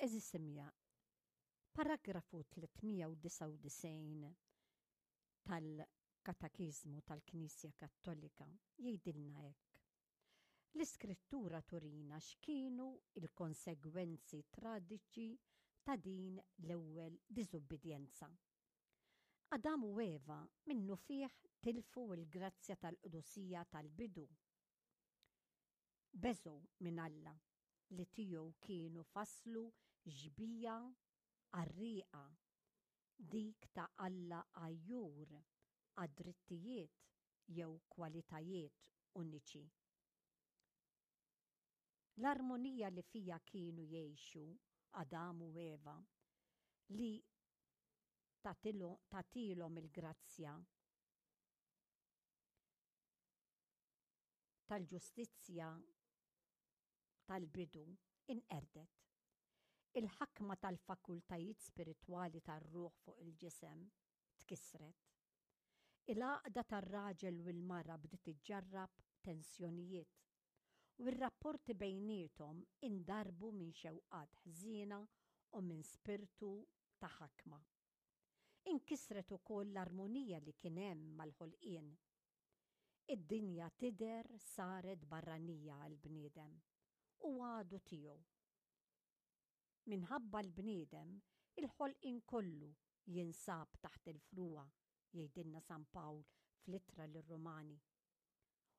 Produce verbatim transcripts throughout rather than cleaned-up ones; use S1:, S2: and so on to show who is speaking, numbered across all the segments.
S1: Għeżież semmiegħa, paragrafu tliet mija u disgħa u disgħin tal-Katekiżmu tal-Knisja Kattolika jgħidilna hekk: "L-Iskrittura turina x'kienu il-konsegwenzi traġiċi ta' din l-ewwel diżubbidjenza. Adam u Eva minnufih tilfu l-grazzja tal-qdusija tal-bidu. Beżgħu minn Alla li tiegħu kienu faslu xbieha qarrieqa, dik ta' Alla għajjur għad-drittijiet jew kwalitajiet uniċi. L-armonija li fija kienu jgħixu Adam u Eva li tagħtihom il-grazzja tal-ġustizzja tal-bidu inqerdet. Il-ħakma tal-fakultajiet spiritwali tar-ruħ fuq il-ġisem tkissret. Il-għaqda tar-raġel u l-mara bdiet iġġarrab tensjonijiet u r-rapporti bejniethom indarbu minn xewqat ħżiena u minn spirtu ta' ħakma. Inkisret ukoll l-armonija li kien hemm mal-ħolqien. Id-dinja tidher saret barranija għall-bniedem u għadu tiegħu. Minħabba l-bniedem, il-ħolqien kollu jinsab taħt il-frugħa", jgħidilna San Pawl fl-Ittra lir-Rumani.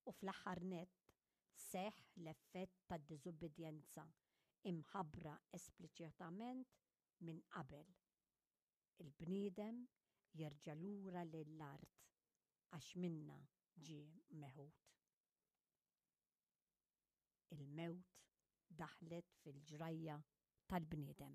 S1: U fl-aħħar nett seħħ l-effett tad-diżubbidjenza imħabbra espliċitament minn qabel. Il-bniedem jerġa' lura lill-art għax minna ġie meħud. Il-mewt daħlet fil-ġrajja tal-bniedem.